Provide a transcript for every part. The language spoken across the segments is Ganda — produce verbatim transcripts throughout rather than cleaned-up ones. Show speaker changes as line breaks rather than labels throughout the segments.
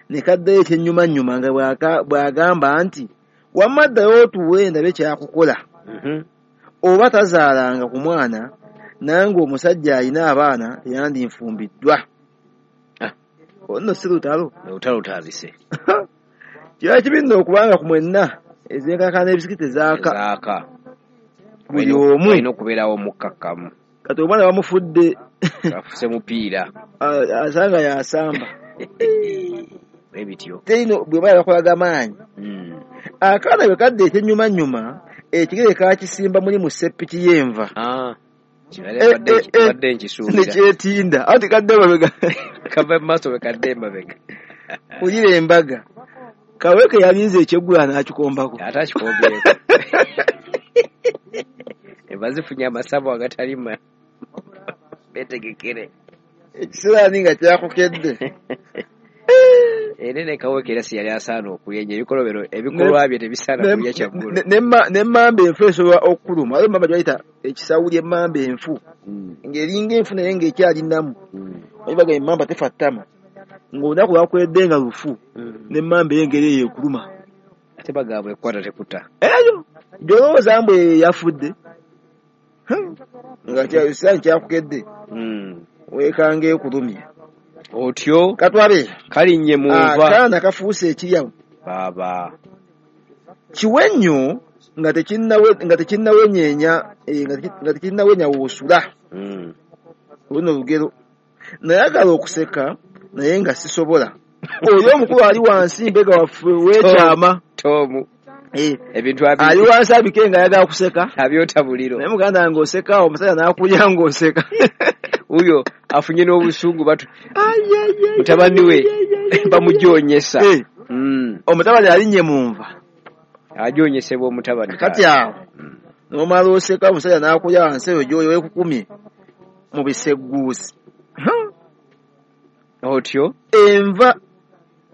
Ne kaddayo ekyennyumannyuma nga bw'agamba nti wamma ddayo otuule ndabe kyakukola. Oba tazaalanga ku mwana nange omusajja alina abaana teyandinfumbiddwa. Ono si lutalo.
Olutalo lutandise.
Kiba kibi nno okubanga ku mwenna ezenkaka n'ebisiki tezaaka.
Zaaka.
Buli omu
alina okubeerawo omukkakkamu.
Kati omwana bamufudde
afuse mupiira.
Asanga yasamba.
Ebityo.
Terino bwe baba bakolaga maanyi. Akaana bwe kadda ekyennyumannyuma ekigere kakisimba muli mu ssepiki y'enva.
Badde nkisuubira.
Ne kyetinda. Anti kadde emabega.
Kava mu maaso bwe kadde emabega.
Wulira embaga. Kaweke yalinze ekyeggula n'akikombako.
Ate akikombyeko. Enva zifunye amasavu agatalima. Beetegekere.
Ekisiraani nga kyakukedde.
Era ne Kaweke era si yali asaana okulya ennyo ebikolobero ebikolwa bye tebisaana kulya kyaggulo.
N'emmamba enfu esobola okukuluma. Waliwo emmamba gye bayita ekisawuli emmamba enfu. Ng'eringa enfu naye ng'ekyali nnamu. Omanyi bagamba emmamba tefa ttama. Ng'olunaku lwakwedde nga lufu. N'emmamba eyo engeri eyo ekuluma.
Ate bagamba ekukwata tekuta.
Eyo gy'olowooza mbu yafudde. Nga ekisiraani kyakukedde. Weekanga ekulumye.
Otyo
katwabe
kalinnye mu nva.
Akaana kafuuse ekiryawo.
Baaba.
Kiwe nnyo nga tekinnawe nga tekinnawenyeenya nga tekinnawenya woosula. Luno lugero. Nayagala okuseka naye nga sisobola. Oyo omukulu ali wansi mbega waffe weekyama.
Tomu. Ebintu abi
ali wansi abike nga ayagala kuseka.
Abyota buliro.
Naye muganda wange oseka omusajja n'akulya ng'oseka.
Uyo afunye n'obusungu batu. Mutabani we bamujoonyesa.
Omutabani alinnye mu nva.
Ajoonyesebwa omutabani.
Kati awo n'omala oseka omusajja n'akulya wansi eyo gy'oli weekukumye mu bisegguusi.
Otyo
enva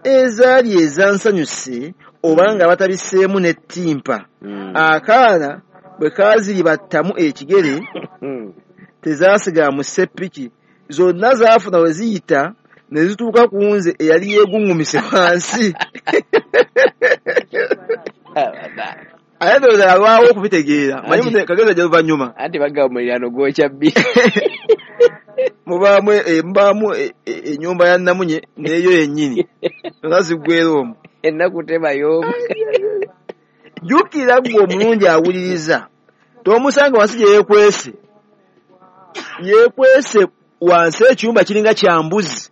ezaali ezansanyuse oba nga batabiseemu n'ettimpa. Akaana bwe kaaziribattamu ekigere tezaasigala mu ssepiki zonna zaafuna we ziyita ne zituuka ku nze eyali yeeguŋŋumise wansi. Ate ndowooza yalwawo okubitegeera. Manyi kagezi ajja luvannyuma.
Anti bagamba omuliraano gwokya bbi.
Mubaamu mubaamu ennyumba ya Namunye n'eyo yennyini. Zonna ziggweera omwo.
Ennaku tebayoomu.
Jjukira ggwe omulungi awuliriza. Tomusanga wansi gye yeekwese. Yeekwese wansi ekyumba kiringa kya mbuzi.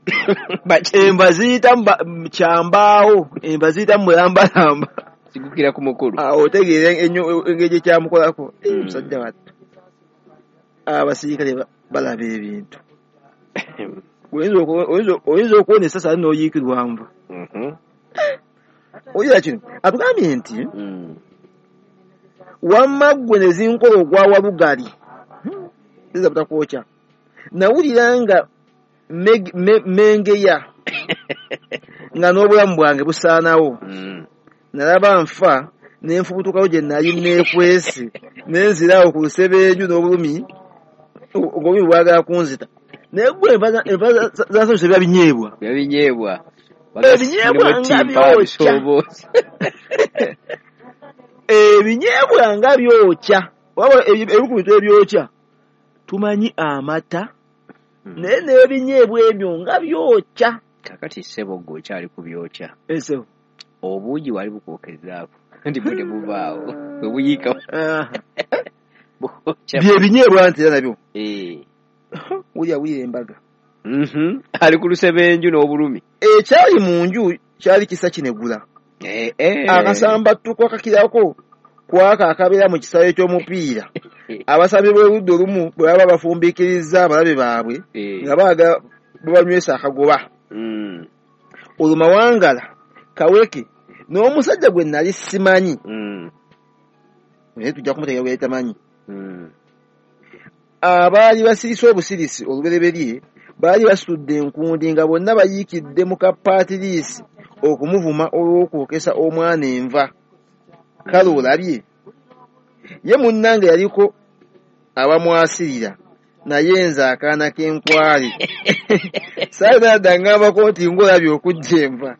Enva ziyita kya mbaawo. Enva ziyita mu mulambalamba.
Zigukira ku mukulu.
Awo otegeera engeri gye kyamukolako. Musajja wattu. Abasirikale balaba ebintu. Oyinza okuwona essasi ate n'oyiikirwa nva. Owulira kino atugambye nti wamma ggwe ne zinkola ogwa Walugali. Ziyinza butakwokya. Nawulira nga mengeya nga n'obulamu bwange busaanawo. Nalaba nfa ne nfubutukawo gye nali neekwese ne nziraawo ku lusebenju n'obulumi ng'obulumi bwagala kunzita. Naye ggwe enva zansanyusa biba binyeebwa.
Biba binyeebwa.
Ebinyeebwa nga byokya. Ebinyeebwa nga byokya. Wabula ebimu ku bintu ebyokya tumanyi amata naye n'ebinyeebwa ebyo nga byokya.
Kaakati ssebo ggwe okyali ku byokya.
Ssebo.
Obuugi wali bukwokezaako nti bwe tebuvaawo bwe buyiika.
Bye binyeebwa nti era nabyo. Wulira wulira embaga.
Ali ku lusebenju n'obulumi.
Ekyali mu nju kyali kisa kinegula. Akasambattuko akakirako kwaka akabeera mu kisaawe ky'omupiira. Abasambi b'oludda olumu bwe baba bafumbiikirizza abalabe baabwe nga baagala babanywesa akagoba. Olwo Mawangala, Kaweke n'omusajja gwe nali simanyi. Naye tujja kumutegeera gwe yali tamanyi. Abaali basirise obusirisi olubereberye baali basitudde enkundi nga bonna bayiikidde mu kapaatiriisi okumuvuma olw'okwokesa omwana enva. Kale olabye. Ye munnange yaliko abamwasirira naye nze akaana k'enkwale. Saalina dda ngambako nti ng'olabye okujja enva.